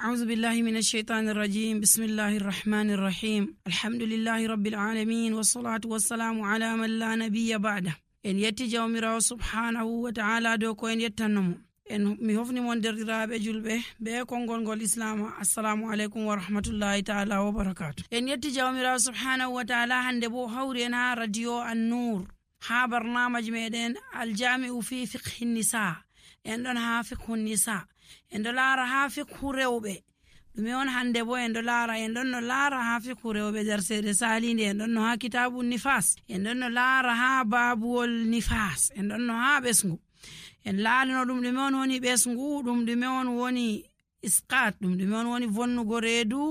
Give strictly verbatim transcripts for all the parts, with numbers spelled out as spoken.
أعوذ بالله من الشيطان الرجيم بسم الله الرحمن الرحيم الحمد لله رب العالمين والصلاة والسلام على من لا نبي بعده en yetti jawmirawo subhanahu wa ta'ala do ko en yettannomo en mi hofni mon derdiraabe julbe be kongol ngol islam assalamu alaikum wa rahmatullahi ta'ala wa barakatuh en yetti jawmirawo subhanahu wa ta'ala hande bo hawri en ha radio an-nur ha barnamaj meden al-jami'u fi fiqh an-nisa en don ha fiqh an-nisa en do lara ha fiqh rewbe dum on hande bo en do lara en don no lara ha fiqh rewbe der sede salinde en don no ha kitabun nifas en don no lara ha babul nifas en don no ha besngu en laalino dum dum on woni besngu dum dum on woni isqat dum dum on woni vonnugo reedu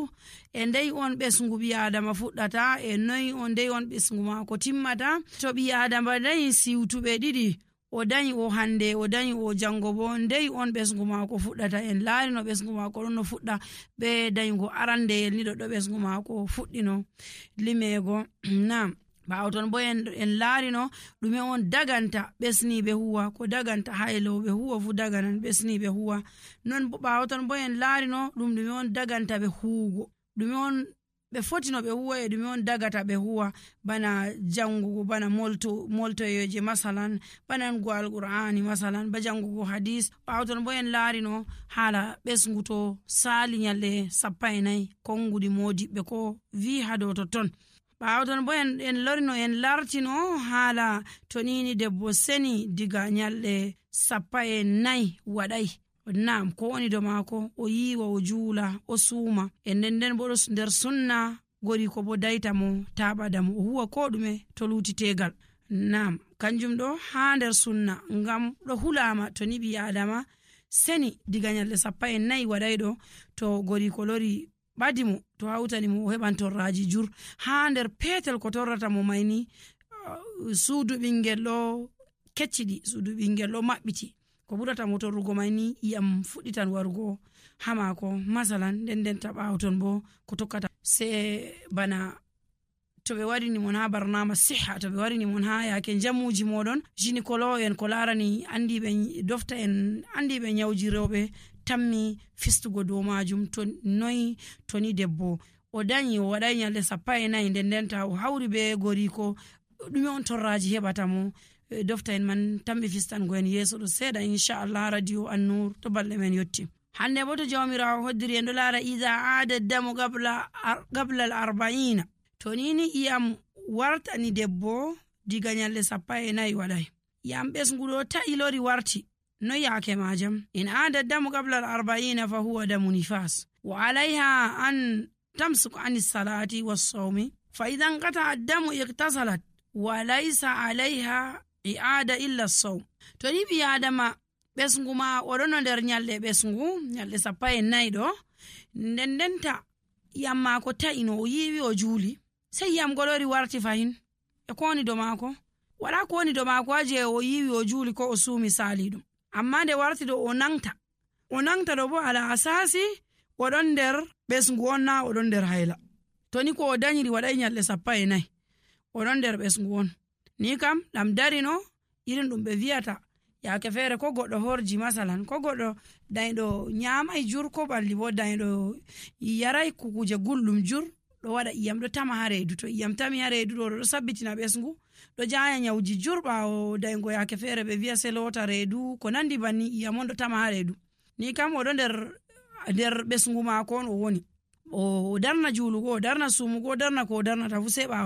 e ndey on besngu bi adama fuddata e noy on ndey on besngu ma ko timmata to bi adama dai siwtube didi o dañi o hande o dañi o jango bo ndey on besngu mako fuddata en laari no besngu mako don no fudda be dañgo arande ni do do besngu mako fuddino limego nam bawton bo en en laari no dume on daganta besni be huwa ko daganta haylo be huwa fu daganan besni be huwa non bawton bo en laari no dum dume on daganta be huugo dume on be fotino be huwa e dum on dagata be huwa bana jangugo bana molto molto yeje masalan bana ngwal qur'ani masalan ba jangugo hadith bawton bo en laarino hala besnguto sali nyalle sappaynay kongudi modi be ko vi hado to ton bawton bo en en lorino en lartino hala tonini debbo seni diga nyalle sappaynay wadai nam ko woni do mako o yiwa o juula o suuma en den den bo der sunna gori ko bo dayta mo tabada mo huwa ko dume to luti tegal nam kanjum do ha der sunna ngam do hulama to ni bi adama seni diga nyalle sappa en nay wadai do to gori ko lori badimo to hawtani mo heban torraji jur ha der petel ko torrata mo mayni uh, suudu bingel lo keccidi suudu bingel lo mabbiti ko burata motorrugo mayni yam fuditan warugo hamako masalan den den tabawton bo ko tokkata se bana to be wari ni mon ha barnama siha to be wari ni mon ha yake jamuji modon gynécologue en ko larani andi be dofta en andi be nyawji rewbe tammi fistugo do majum to noy to ni debbo o dañi o waday nyalle sappa e nay den den taw hawri be gori ko dum on torraji hebata mo dofta en man tambe fistan go en yeso do seda inshallah radio an-nur to balle men yotti hande bo to jawmirawo hoddiri en do lara iza aada damu qabla qabla al-arba'in to nini iyam wartani debbo diga nyalle sappa e nay wadai yam besngudo ta ilori warti no yake majam in aada damu qabla al-arba'in fa huwa damu nifas wa alaiha an tamsuk an as-salati was-sawmi fa idan qata ad-damu iqtasalat wa laysa alaiha i'ada illa as-sawm to ni bi adama besngu ma odono der nyalle besngu nyalle sappa e nay do ndendenta yamma ko taino o yiwi o juuli sai yam golori warti fahin e koni do mako wala koni do mako aje o yiwi o juuli ko o sumi salido amma de warti do o nangta o nangta do bo ala asasi odon der besngu onna odon der hayla to ni ko o danyiri wada nyalle sappa e nay odon der besngu on ni kam lam darino irin dum be viata yake fere ko goddo horji masalan ko goddo daydo nyama e jur ko balli bo daydo yaray kukuje gullum jur do wada iyam do tama hareedu to iyam tami hareedu do do sabbitina besngu do jaaya nyawji jurba o daygo yake fere be via selota reedu ko nandi banni iyam on do tama hareedu ni kam o do der der besngu ma ko on o woni o darna julugo darna sumugo darna ko darna tafu seba